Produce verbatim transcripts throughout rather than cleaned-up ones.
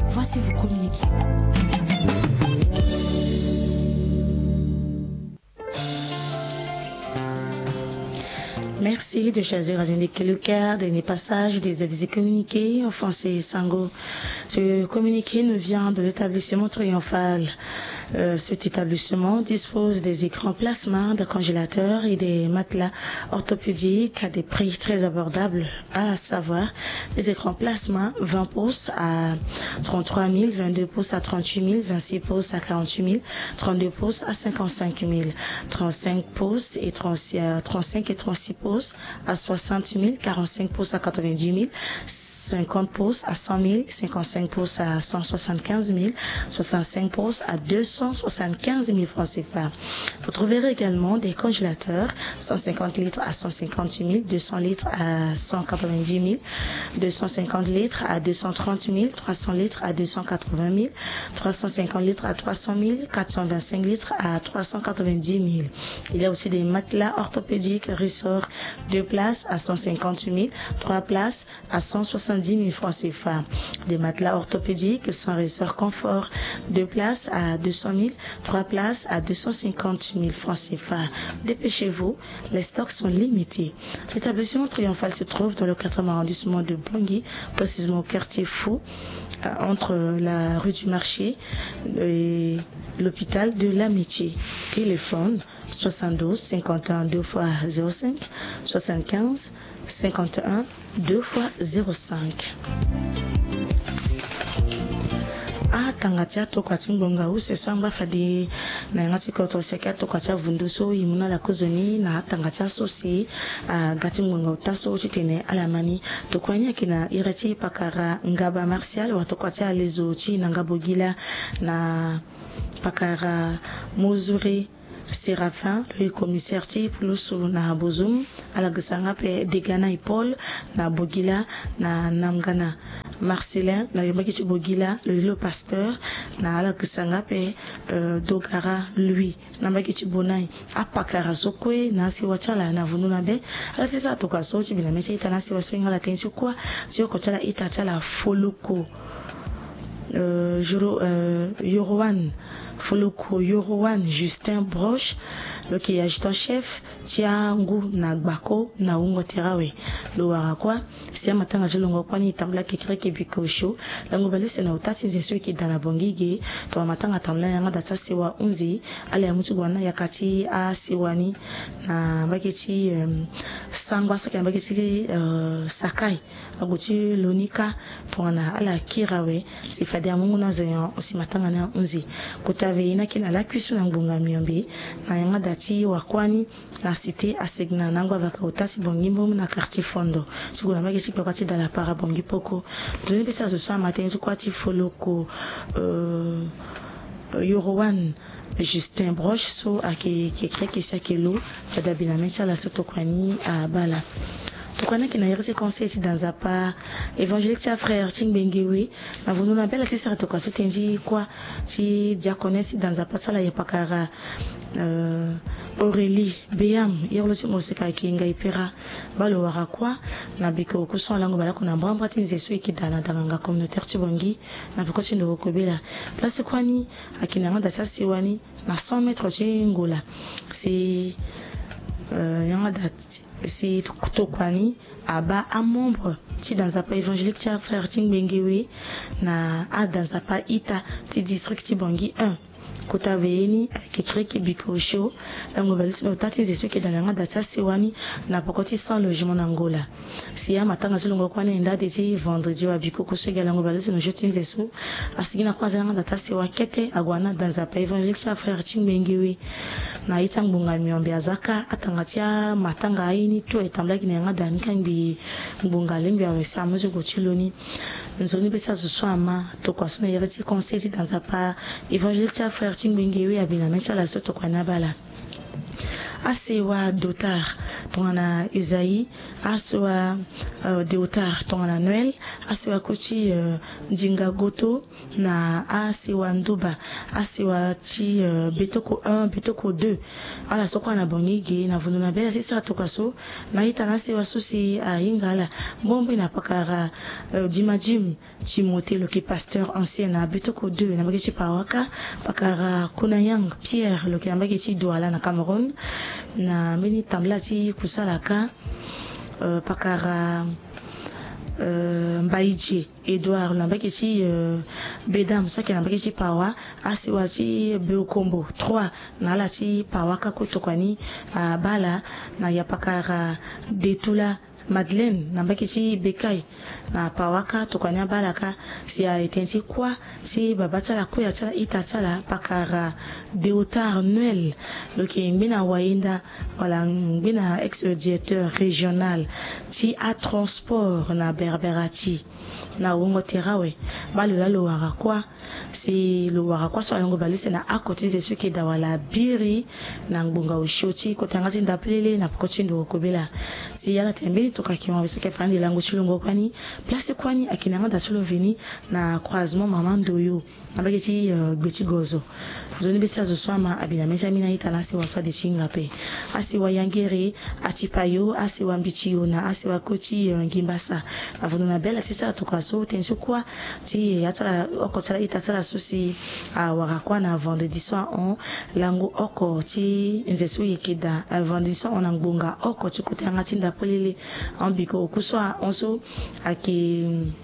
Voici vos communiqués. Merci de choisir Radio Nickel Car, dernier passage des avis et communiqués en français et sango. Ce communiqué nous vient de l'établissement Triomphal. Euh, cet établissement dispose des écrans plasma, des congélateurs et des matelas orthopédiques à des prix très abordables, à savoir des écrans plasma vingt pouces à trente-trois mille, vingt-deux pouces à trente-huit mille, vingt-six pouces à quarante-huit mille, trente-deux pouces à cinquante-cinq mille, trente-cinq pouces et trente-six, euh, trente-cinq et trente-six pouces à soixante mille, quarante-cinq pouces à quatre-vingt-dix mille, cinquante pouces à cent mille, cinquante-cinq pouces à cent soixante-quinze mille, soixante-cinq pouces à deux cent soixante-quinze mille francs C F A. Vous trouverez également des congélateurs, cent cinquante litres à cent cinquante-huit mille, deux cents litres à cent quatre-vingt-dix mille, deux cent cinquante litres à deux cent trente mille, trois cents litres à deux cent quatre-vingt mille, trois cent cinquante litres à trois cent mille, quatre cent vingt-cinq litres à trois cent quatre-vingt-dix mille. Il y a aussi des matelas orthopédiques ressorts, deux places à cent cinquante mille, trois places à cent soixante-dix mille francs C F A. Des matelas orthopédiques sans ressort confort, deux places à deux cent mille, trois places à deux cent cinquante mille francs C F A. Dépêchez-vous, les stocks sont limités. L'établissement Triomphal se trouve dans le quatrième arrondissement de Bangui, précisément au quartier Fou, euh, entre la rue du Marché et l'hôpital de l'Amitié. Téléphone soixante-douze cinquante et un deux fois zéro cinq, soixante-quinze cinquante et un deux fois zéro cinq. Atanga ti atokua ti ngbonga use so angba fade na yanga ti kodro si ayeke atokua ti avundu so e mu na ala kozoni na atanga ti aso si aga ti ngbonga ota so titene ala ma ni. Tokua ni ayeke na iri ti pakara Ngaba Martial watokua ti alezo ti Nanga Bogila, na pakara Mozure Séraphin, lo yeke commissaire ti pulusu na Bozoum. Ala gisa nga pe Degana Paul na Bogila, na Namgana Marcelin na yamba gi ti Bogila, lo yeke lo pasteur. Na ala gisa nga pe, euh, Dogara Louis na mbage ti Bonai. Apakara so kue na asewa ti ala na vundu na be. Ala ti sara tokua so ti bi na mê ti a-ita na asewa so e hinga ala tënë ti kuâ ti oko ti ala ita ti ala Foloko, euh, Joro, euh, Yoroan, Foloko Yoroan Justin Broche, lo yeke adjudant chef ti angu na gbako na wungo tere awe. Lo wara kuâ si amatanga ti longo kuâ ni e tambula kekereke biko osio. Lango baleuse na ota ti nze so e yeke daa na Bangui ge. Tongana matanga atambula na yanga daa ti asewa hunzi, ala ya mu ti gue na yaka ti asewa ni na mbage ti, euh, Sangba so ayeke na mbage ti, euh, Sakai. Ague ti lo ni kâ tongana ala kiri awe si fade amu ngu na zo nyon si matanga ni ahunzi. Kota ve ye ni ayeke na lakui so na ngbonga miombe na yanga daa ti wakuâ ni na cité Asegna na angbavaka ota ti Bangui Mbombo na quartier Fondo ti gue na mbage ti kpakpa ti Dalapara Bangui Poko. Nzoni pesa zo so ama tënë ti kuâ ti Foloko, euh, Yoroan Justin Broche so ayeke kekereke si ayeke lo. Fade abi na mê ti ala so tokua ni abaa ala. Tokua ni ayeke na iri ti conseil ti da nzapa évangélique ti afrère ti Ngbenge We. Na vundu na be ala ti sara tokua so tënë ti kuâ ti diaconesse ti da nzapa ti ala ya pakara, euh, Aurélie Beyam, iri lo ti moseka ayeke Ngai Pera. Baa lo wara kuâ na biko oku so alango baleoko na mbrambra ti nze so e yeke daa na danganga communautaire ti Bangui na peko ti ndo kobela. Place kuâ ni ayeke na yanga daa ti asewa ni na cent mètres ti Ngola. Si, euh, yanga daa ti, si tokua ni abaa amembre ti da nzapa évangélique ti afrère ti Ngbenge We na ada nzapa ita ti district ti Bangui un. Kota ve ye ni ayeke kekereke biko osio. Lango baleuse na ota ti nze so e yeke daa na yanga daa ti asewa ni na peko ti cent logement na Ngola. Si amatanga ti longo kuâ ni ayenda ade ti vendredi wa bikoko so e ga lango baleuse na jour ti nze so. Asigi na kuâ aza na yanga daa ti asewa kete ague na ada nzapa évangélique ti afrère ti Ngbenge We. Na ye ti angbonga miombe aza kâ atanga ti amatanga aye ni tout ayeke tambula gi na yanga daa ni kangbi ngbonga alingbi awe si amu ti gue ti lo ni. Nzoni be ti azo so ama tokua so na iri ti conseil ti da nzapa évangélique ti afrère ti Ngbenge We abi na mê ti ala so tokua ni abaa ala. Asewa Dotar tongana Esaïe, asewa Deotar tongana Noël, asewa koti Ndinga Goto, na asewa Nduba, asewa ti Betoko un, Betoko deux. Ala so kue na bangi ge na vundu na bela sisa atoka so na ita na asewa so si ahinga ala mbombi na pakara Dimadim Timothée, lo yeke pasteur ancien na Betoko deux na mbage ti Pawaka, pakara Kunayang Pierre, lo yeke na mbage ti Douala na Cameroun, na mbeni tambula ti kusala kâ, pakara Mbaidie Edouard na mbage ti Bedam so ayeke na mbage ti Pawa, asewa ti Beokombo trois na ala ti Pawaka kue tokua ni abaa ala, na ya pakara Detula Madeleine na mbage ti Bekai na Pawaka tokua ni abaa ala kâ. Si aye tënë ti kuâ ti babâ ti ala, koya ti ala, ita ti ala, pakara Deotar Noël, lo yeke ngbene awayenda wala ngbene ex-directeur régional ti atransport na Berberati. Na wungo tere awe, baa lo laa lo wara kuâ. Si lo wara kuâ so alongo bale use na oko ti nze so e yeke daa wala biri na ngbonga osio ti kota yanga ti ndapelele na peko ti ndo kobela. Si ala tene mbeni tokua ayeke mo, si ayeke fa ande lango ti lo ngo kuâ ni, place kuâ ni ayeke na yanga daa ti lo veni na croisement Mama Ndoyo na mbage ti Gbe ti Gozo. Nzoni be ti azo so ama abi na mê ti ami na ita na asewa so ade ti hinga ape. Asewa Yangere, Atipayo, asewa Mbitiyo na asewa koti Ngimbasa. Na vundu na bela ti sara tokua so tënë so kuâ ti ya ti ala, oko ti ala, ita ti ala so si awara kuâ na vendredi so ahon, lango oko ti nze so e yeke daa, vendredi so ahon na ngbonga oko ti kota yanga ti ndapelele. Ahon biko oku so ahon so ayeke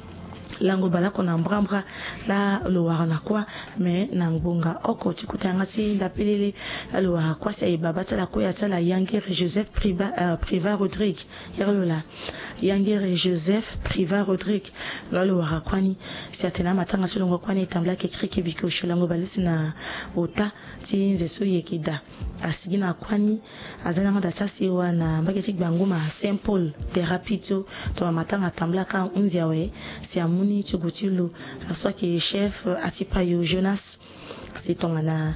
lango baleoko na mbrambra laa lo wara na kuâ. Me na ngbonga oko ti kota yanga ti ndapelele laa lo wara kuâ si aye babâ ti ala, koya ti ala Yangere Joseph Priva, euh, Priva Rodrigue. Iri lo laa Yangere Joseph Priva Rodrigue. Laa lo wara kuâ ni, si atene amatanga ti lo ngo kuâ ni e tambula kekereke biko osio lango bale use na ota ti nze so e yeke daa. Asigi na kuâ ni, aza na yanga daa ti asewa na mbage ti Gbanguma Saint Paul de Rapide so, tongana matanga atambula kâ ahunzi awe, si amu ni ti gue ti lo, so ayeke chef Atipayo Jonas. Si tongana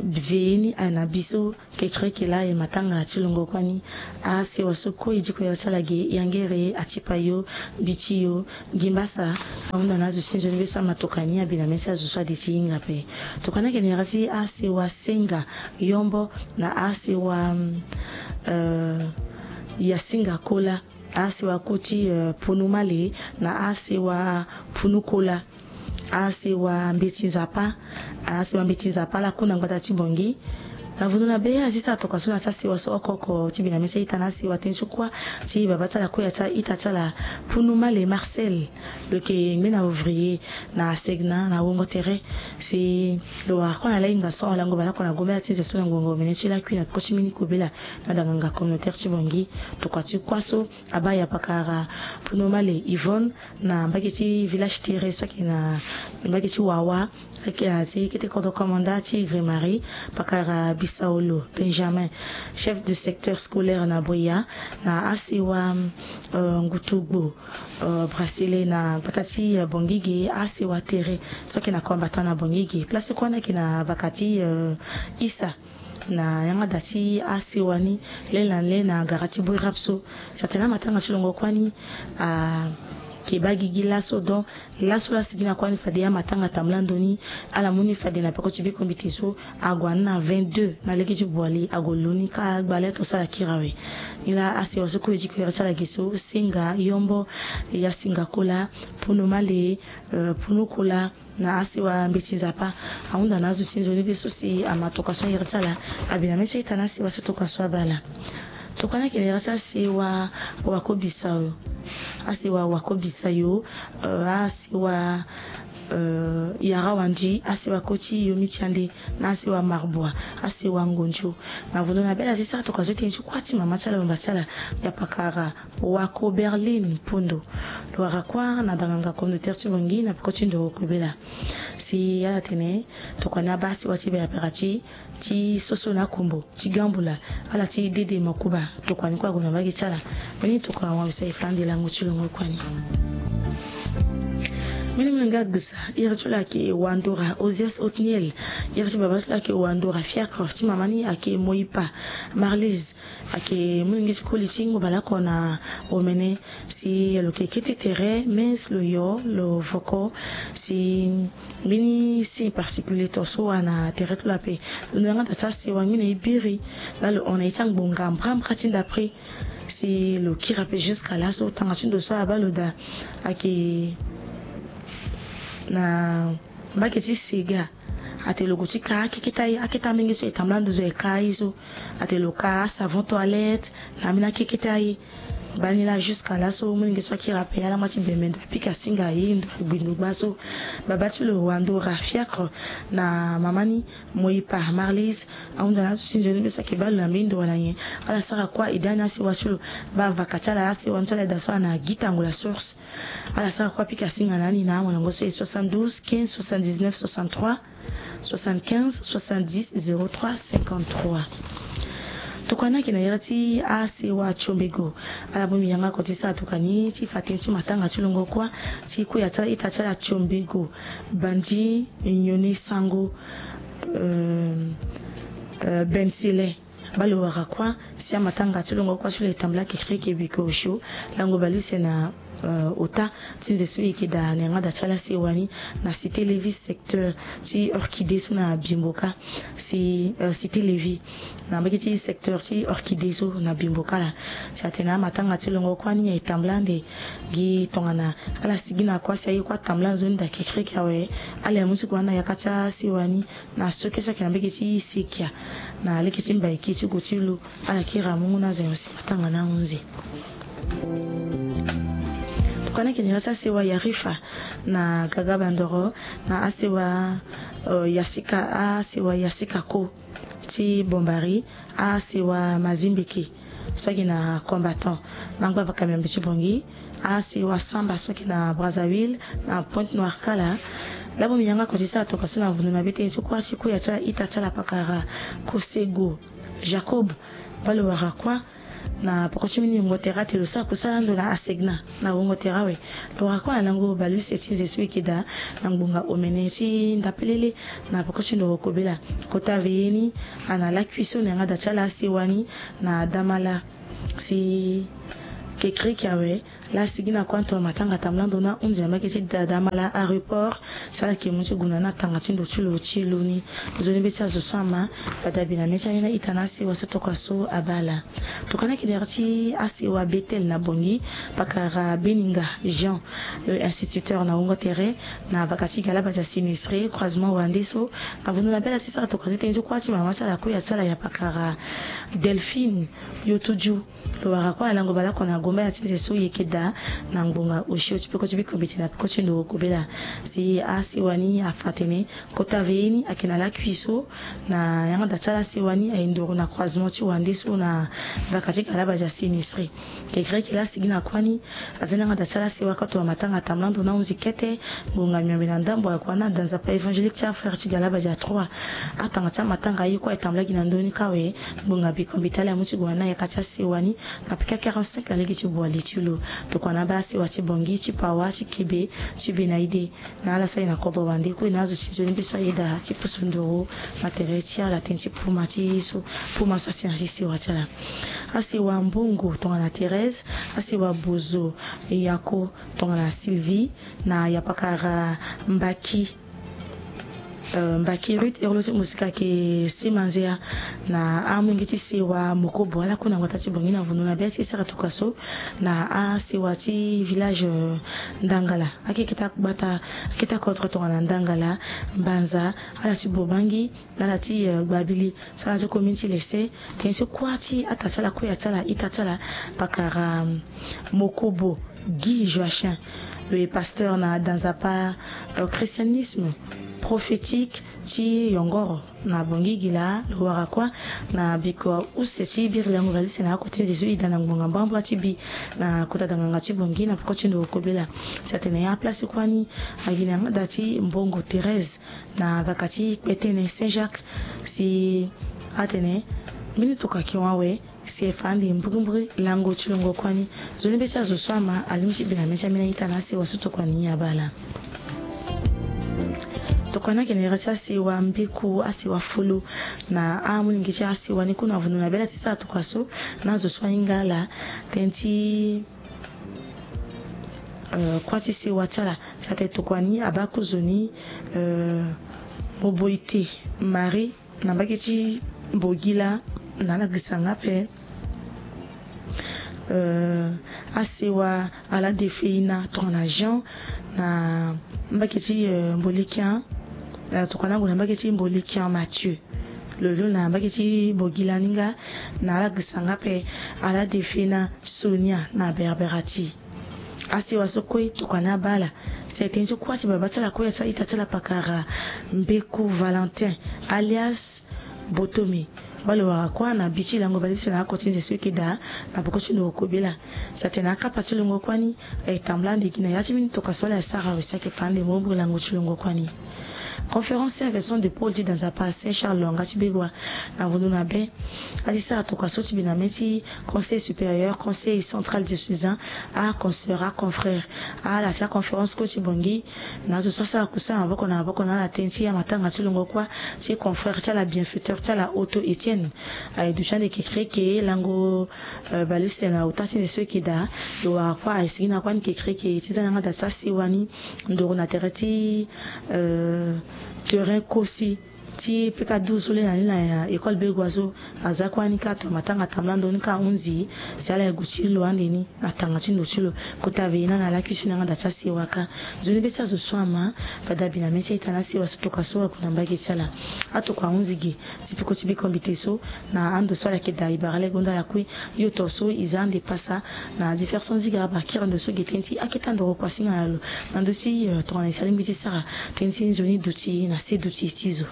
veillée ni aye na bi so, kekereke laa aye matanga ti lo ngo kuâ ni. Asewa so kue e diko iri ti ala ge, Yangere, Atipayo, Mbitiyo, Ngimbasa, ahunda na azo ti nzoni be so ama toka ni, abi na mê ti azo so ade ti hinga ape. Tokua ni ayeke na iri ti asewa Senga Yombo na asewa, euh, Yasinga Kola, asewa koti, euh, Punu Male na asewa Punu Kola, asewa Mbeti Nzapa, asewa Mbeti Nzapa laa ku na ngbata ti Bangui. Na vundu na be azi sara tokua so na ti asewa so oko oko ti bi na mê ti aita na asewa tënë so kuâ ti babâ ti ala, koya ti ala, ita ti ala Punu Male Marcel, lo yeke ngbene ouvrier na Segna na wungo tere. Si lo wara kuâ na lahinga so, lango baleoko na gombela ti nze so na ngongo omene ti lakui na peko ti mbeni kobela na danganga communautaire ti Bangui. Tokua ti kuâ so abaa ya pakara Punu Male Yvonne na mbage ti village tere so ayeke na mbage ti Wawa, ayeke na ti kete kodro komanda ti Grémarie, pakara Bisaolo Benjamin, chef de secteur scolaire na Bria, na asewa, euh, Ngutugbo, euh, Brasile na mbata ti, euh, Bangui ge, asewa Tere so ayeke na Combattant na Bangui ge. Place kuâ ni ayeke na mbaka ti, euh, Issa. Na yanga daa ti asewa ni, lê na lê na gara ti Bouirap so. Si atene amatanga ti lo ngo kuâ ni ayeke baa gigi laso. Donc laso laa asigi na kuâ ni fade amatanga atambula ndo ni, ala mu ni fade na peko ti biko mbeti so, ague na vingt-deux na lege ti Boali, ague lo ni kâ gba leto so ala kiri awe. Ni laa asewa so kue e diko iri ti ala ge so, Senga Yombo, Yasinga Kola, Punu Male, euh, Punu Kola, na asewa Mbeti Nzapa, ahunda na azo ti nzoni be so si ama toka so iri ti ala, abi na mê ti aita na asewa so toka so abaa ala. Tokua ni ayeke na iri ti asewa Wako Bisayo. Asewa Wako Bisayo, euh, asewa, euh, Yara Wandi, asewa koti Yomi Tiande, na asewa Marbois, asewa Ngondio. Na vundu na bela ti sara tokua so tënë ti kuâ ti mama ti ala, bamba ti ala, ya pakara Wako Berlin Pondo. Lo wara kuâ na danganga communautaire ti Bangui na peko ti ndo kobela. Si ala tene tokua ni abaa asewa ti Berberati, ti Soso na Kombo, ti Gambula, ala ti Dede Makuba, tokua ni kue ague na mbage ti ala. Mbeni tokua awangisa e fa ande lango ti lo ngo kuâ ni. Mene mene nga gisa, iri ti lo ayeke Wandora Osias Otniel, iri ti baba ti lo ayeke Wandora Fiacre, ti mama ni ayeke Moipa Marlise, ayeke molenge ti koli ti ngu baleoko na omene. Si lo yeke kete tere, mais lo yo lo voko si mbeni signe particulier tongaso wala na tere ti lo ape. Lo na yanga daa ti asewa ngbene e biri laa lo hon na ye ti angbonga mbrambra ti ndapre. Si lo kiri ape jusqu'à laso, tanga ti ndo so abaa lo daa ayeke na mbage ti sega. Atene lo gue ti ka akeketa ye, akeketa mingi so e tambula nduzu e ka ye so. Atene lo ka asavon toilette na ambeni akeketa ye. Baa ni laa jusqu'à laso, molenge so akiri ape alama ti bembe ndo apika singa ye ndo agbi ndo gba so. Baba ti lo Wandora Fiacre na mama ni Moipa Marlise ahunda na azo ti nzoni be so ayeke baa lo na mbeni ndo wala nyen. Ala sara kuâ ede ani asewa ti lo. Baa vaka ti ala asewa ni so ala daa so ana Gitango la source. Ala sara kuâ pika singa na ani na amolenge so e soixante-douze quinze soixante-dix-neuf soixante-trois, soixante-quinze soixante-dix zéro trois cinquante-trois. Tokua ni ayeke na iri ti asewa Tiombego. Ala bongbi yanga oko ti sara tokua ni ti fa tënë ti matanga ti longo kuâ ti kuya ti ala ita ti ala Tiombego Bandi Nyone Sango, euh, euh, Bensele. Baa lo wara kuâ si amatanga ti longo kuâ ti lo e tambula kekereke biko osio lango bale use na, euh, ota ti nze so e yeke daa na yanga daa ti ala asewa ni na Cité Lévis, secteur ti Orchidée so na Bimboka. Si, euh, Cité Lévis, na mbage ti secteur ti Orchidée so na Bimboka laa. Si atene amatanga ti longo kuâ ni aye tambula ande gi tongana ala sigi na kuâ si aye kuâ atambula nzoni daa kekereke awe, ala ye mu ti gue na yaka ti asewa ni na so kue so ayeke na mbage ti Sekia na lege ti Mbaiki ti gue ti lo. Ala kiri amungu na azo nyon si matanga ni ahunzi. Tokua ni ayeke na iri ti asewa Yarifa na Gaga Bandoro, na asewa, euh, Yasika, asewa Yasika Ko ti Bombari, asewa Mazimbeke so ayeke na Combattant, na angba vaka miombe ti Bongi, asewa Samba so ayeke na Brazzaville, na Pointe-Noire kala. Laa bongbi yanga oko ti sara tokua so na vundu na be tënë ti kuâ ti kuya ti ala ita ti ala pakara Kosego Jacob. Baa lo wara kuâ na poko ti mbeni wungo tere atene lo sara kusala ando na Asegna na wungo tere awe. Lo wara kuâ na lango bale use ti nze so e yeke daa na ngbonga omene ti ndapelele na poko ti ndo kobela. Kota veye ni ana lakui so na yanga daa ti ala asewa ni na Damala. Si kekereke awe laa asigi na kuâ tonga matanga atambula ndo ni ahunzi na mbage ti Damala aéroport. Si ala yeke mu ti gue na ni na tanga ti ndo ti lo ti lo ni. Nzoni be ti azo so ama, bada bi na mê ti ambeni a-ita na asewa so tokua so abaa laa. Tokua ni ayeke na iri ti asewa Bethel na Bongi, pakara Beninga Jean, le instituteur na wungo tere, na vaka ti Galabadia Sinistre, croisement Wande so. Na vundu na be ala ti sara tokua ti tënë ti kuâ ti mama ti ala kuya ti ala ya pakara Delphine Yotuju. Lo wara kuâ na lango baleoko na gombaya ti nze so e yeke daa na ngbonga osio ti peko ti biko mbeti na peko ti ndo kobela. Si asewa ni afa atene kota veye ni ayeke na lakui so na yanga daa ti ala asewa ni aye ndoro na croisement ti Wande so na vaka ti Galabadia Sinistre. Kekereke laa asigi na kuâ ni aza ni yanga daa ti ala asewa koto wa matanga atambula ndo ni ahunzi kete. Ngbonga miombe na ndambo ayeke wani na danzapa évangélique ti afrère ti Galabadia trois. Atanga ti amatanga aye kuâ e tambula gi na ndö ni kâ awe. Ngbonga biko mbeti ala amu ti gue wani na yaka ti asewa ni na pika quarante-cinq na lege ti bua li ti lo. Tokua na abaa asewa ti Bongi, ti Pawa, ti Kebe, ti Benaide. Na ala so aye na kodro Wande kue na azo ti nzoni be so ayeda ti pusu nduru na tere ti ala tënë ti puma ti so, puma so asi na ti sewa ti ala. Asewa Mbongo tongana Thérèse, asewa Bozo Yako tongana Sylvie, na yapakara Mbaki, euh, Mbaki Ruth, ero lo ti mosika ayeke Sima Nzea, na amolenge ti sewa Mokobo, ala kue na ngota ti Bongi na vundu na be ti sara tokua so na asewa ti village, euh, Ndangala. Akeketa gbata, akeketa kodro tongana Ndangala, Mbanza, ala ti Bobangi, na ala ti, euh, Gbabili, so ala ti commune ti Lesse. Tënë ti kuâ ti ata ti ala, kuya ti ala, ita ti ala, pakara, euh, Mokobo Guy Joachim, lo ye pasteur na danzapa, euh, christianisme prophétique ti Yongoro na Bongi gi laa. Lo wara kuâ na biko use ti biri lango bale use na oko ti nze so e da na ngbonga mbrambra ti bi na kota danganga ti Bongi na peko ti ndo kobela. Si atene aplace kuâ ni ayeke na yanga daa ti Mbongo Thérèse na vaka ti Kpetene Saint Jacques. Si atene mbeni tokua ayeke hon awe. Si e fa ande mbirimbiri lango ti longo kuâ ni. Nzoni be ti azo so ama, alingbi ti bi na mê ti ambeni a-ita na asewa so tokua ni abaa laa. Tokua ni akendere ti asewa mbeku, asewa fulu na amolenge ti asewa ni kue na vundu na bela ti sara tokua so na azo so ahinga ala tënë ti eh, kuâ ti sewa ti ala. Tate tokua ni abaa kozoni eh, Moboite Marie na mbage ti Bogila na ala gisa nga ape. Eh, asewa ala defeina tongana Jean na mbage ti eh, Mbolikian. Eh, tokua ni ague na mbage ti Mbolikian Mathieu. Lo lo na mbage ti Bogila ni nga na ala gisa nga ape. Ala defeina Sonia na Berberati. Asewa so kue tokua ni abaa ala. Si aye tënë ti kuâ ti baba ti ala kue, asi a-ita ti ala pakara Mbeku Valentin alias Botome. Baa lo wara kuâ na bi ti lango bale ti ala na oko ti nze so eke daa na peko ti ndoro kobela. Si atene akapa ti longo kuâ ni aye tambula ande gi na ya ti mbeni tokua so ala ye sara awe si ayeke fa ande mo lango ti longo kuâ ni. Conférence Saint Vincent de Paul ti Danzapa, Saint Charles Longa ti Begoua na vundu na be. Ati sara tokua so ti bi na mê ti Conseil supérieur, Conseil central diocésain, a consoeur, a confrère. Ala ti aconférence kue ti Bangui na azo so asara kusala maboko na maboko na ala tënë ti amatanga ti longo kuâ ti confrère ti ala, bienfaiteur ti ala, Otto Etienne. Aye duti ande kekereke lango eh, bale use na ota ti nze so eke daa. Lo wara kuâ aye sigi na kuâ ni kekereke ti za na yanga da ti asewa ni ndoro na tere ti eh, terrain kosi ti peka du so le na ni na école Begoua so. Aza kuâ ni kâ, to matanga tambula ndo ni kâ ahunzi. Si ala ye gue ti lo ande ni na tanga ti ndo ti lo. Kota ve na na laki so na yanga da ti asewa kâ. Nzoni be ti azo so ama. Fade abi na mê ti a-ita na asewa so tokua so ague na mbage ti ala. Atokua ahunzi ge ti peko ti biko mbete so na ando so ala yeke daa e bara lege hunda lakui. Yo to so e za ande pasa na différence so nzika abakiri ando so ge tënë ti akete ando kuâ singa na lo na ndö ti eh, tongana e sara lingbi ti sara tënë ti nzoni duti na se duti ti zo.